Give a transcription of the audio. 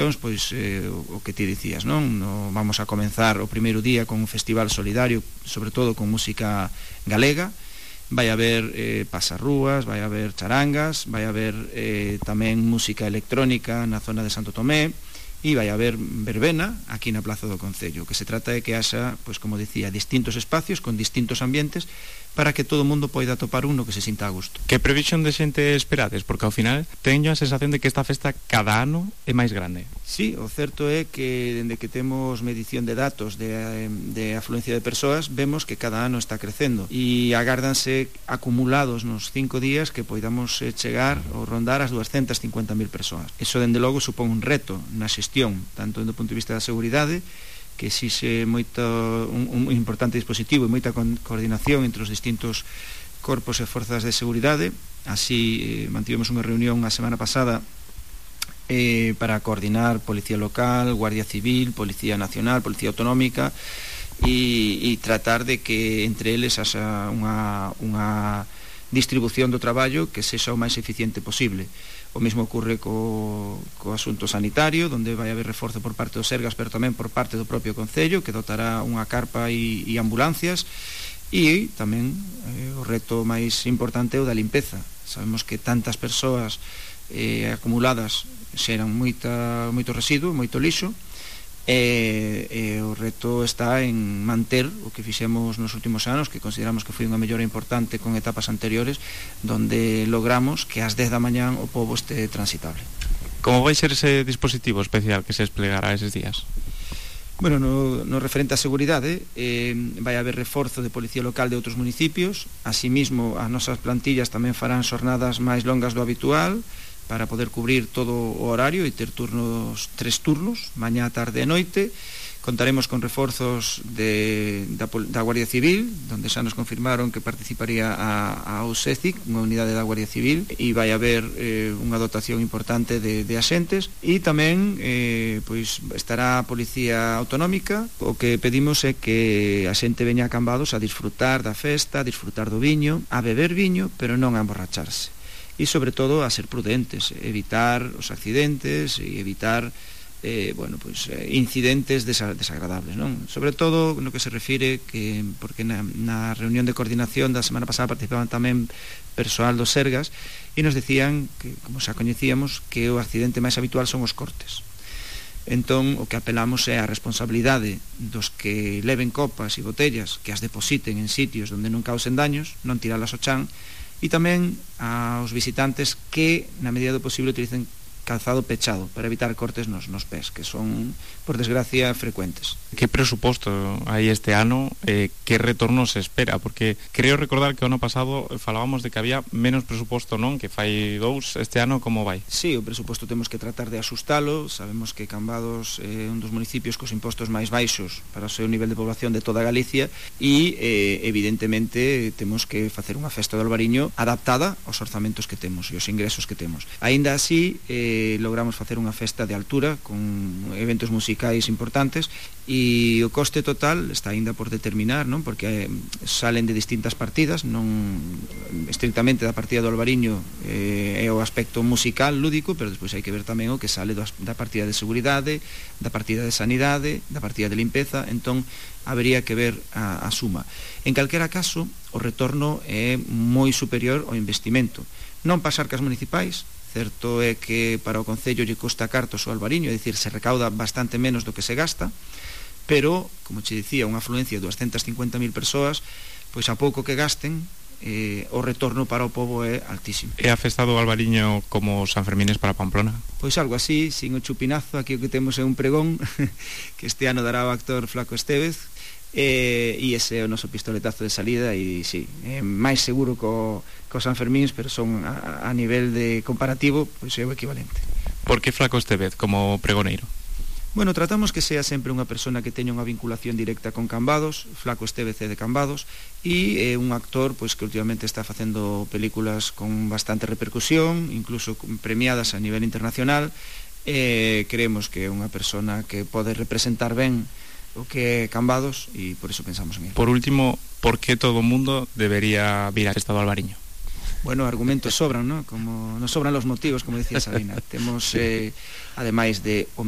actuacións, pois o que ti dicías, non? Vamos a comenzar o primeiro día con un festival solidario, sobre todo con música galega. Vai haber pasarrúas, vai haber charangas, vai haber tamén música electrónica na zona de Santo Tomé, e vai haber verbena aquí na Plaza do Concello. O que se trata é que haxa, pois como dicía, distintos espacios con distintos ambientes para que todo o mundo poida topar uno que se sinta a gusto. Que previsión de xente esperades? Porque ao final teño a sensación de que esta festa cada ano é máis grande. Sí, o certo é que dende que temos medición de datos de afluencia de persoas, vemos que cada ano está crecendo e agárdanse acumulados nos 5 días que poidamos chegar ou rondar as 250.000 persoas. Eso dende logo supón un reto na xestión, tanto do punto de vista da seguridade, que exixe un importante dispositivo e moita coordinación entre os distintos corpos e forzas de seguridade. Así mantivemos unha reunión a semana pasada para coordinar Policía Local, Guardia Civil, Policía Nacional, Policía Autonómica e tratar de que entre eles haxa unha distribución do traballo que sexa o máis eficiente posible. O mesmo ocurre co asunto sanitario, onde vai haber reforzo por parte dos Sergas, pero tamén por parte do propio Concello, que dotará unha carpa e ambulancias, e tamén o reto máis importante é o da limpeza. Sabemos que tantas persoas acumuladas xeran moito residuo, moito lixo, e o reto está en manter o que fixemos nos últimos anos, que consideramos que foi unha mellora importante con etapas anteriores, donde logramos que ás 10 da mañán o pobo este transitable. Como vai ser ese dispositivo especial que se desplegará eses días? Bueno, no referente á seguridade, vai haber reforzo de policía local de outros municipios. Asimismo, as nosas plantillas tamén farán xornadas máis longas do habitual, para poder cubrir todo o horario e ter 3 turnos, mañá, tarde e noite. Contaremos con reforzos da Guardia Civil, donde xa nos confirmaron que participaría a OSECIC, unha unidade da Guardia Civil, e vai haber unha dotación importante de axentes, e tamén pois estará a Policía Autonómica. O que pedimos é que a xente veña a Cambados a disfrutar da festa, a disfrutar do viño, a beber viño, pero non a emborracharse. E sobre todo a ser prudentes, evitar os accidentes e evitar incidentes desagradables, non? Sobre todo no que se refire porque na reunión de coordinación da semana pasada participaban tamén persoal dos Sergas e nos decían que, como xa coñecíamos, que o accidente máis habitual son os cortes. Entón, o que apelamos é a responsabilidade dos que leven copas e botellas, que as depositen en sitios onde non causen daños, non tiralas ao chan, e tamén aos visitantes que, na medida do posible, utilicen calzado pechado para evitar cortes nos pés, que son, por desgracia, frecuentes. Que presuposto hai este ano? Que retorno se espera? Porque creo recordar que o ano pasado falábamos de que había menos presuposto, non? Que fai 2, este ano como vai? Sí, o presuposto temos que tratar de asustalo. Sabemos que Cambados é un dos municipios cos impostos máis baixos para o seu nivel de población de toda Galicia e, evidentemente, temos que facer unha festa do Albariño adaptada aos orzamentos que temos e aos ingresos que temos. Aínda así, logramos facer unha festa de altura con eventos musicais importantes e o coste total está aínda por determinar, non? Porque salen de distintas partidas, non estrictamente da partida do Albariño é o aspecto musical, lúdico, pero despois hai que ver tamén o que sale da partida de seguridade, da partida de sanidade, da partida de limpeza. Entón habería que ver a suma. En calquera caso, o retorno é moi superior ao investimento. Non pasar cas municipais. Certo é que para o Concello lle costa cartos o Albariño, é dicir, se recauda bastante menos do que se gasta, pero, como che dicía, unha afluencia de 250.000 persoas, pois a pouco que gasten, o retorno para o pobo é altísimo. É a festa do Albariño como San Fermines para Pamplona? Pois algo así, sin o chupinazo. Aquí o que temos é un pregón que este ano dará o actor Flaco Estévez, e ese é o noso pistoletazo de salida. E sí, é máis seguro co San Fermíns, pero son a nivel de comparativo, pois é o equivalente. Por que Flaco Estévez como pregoneiro? Bueno, tratamos que sea sempre unha persona que teña unha vinculación directa con Cambados. Flaco Estévez é de Cambados e é un actor pois que últimamente está facendo películas con bastante repercusión, incluso premiadas a nivel internacional. Creemos que é unha persona que pode representar ben o que é Cambados e por iso pensamos en él. Por último, por que todo o mundo debería vir a festa do Albariño? Bueno, argumentos sobran, ¿no? Como nos sobran los motivos, como decía Sabina. Temos, ademais de o mellor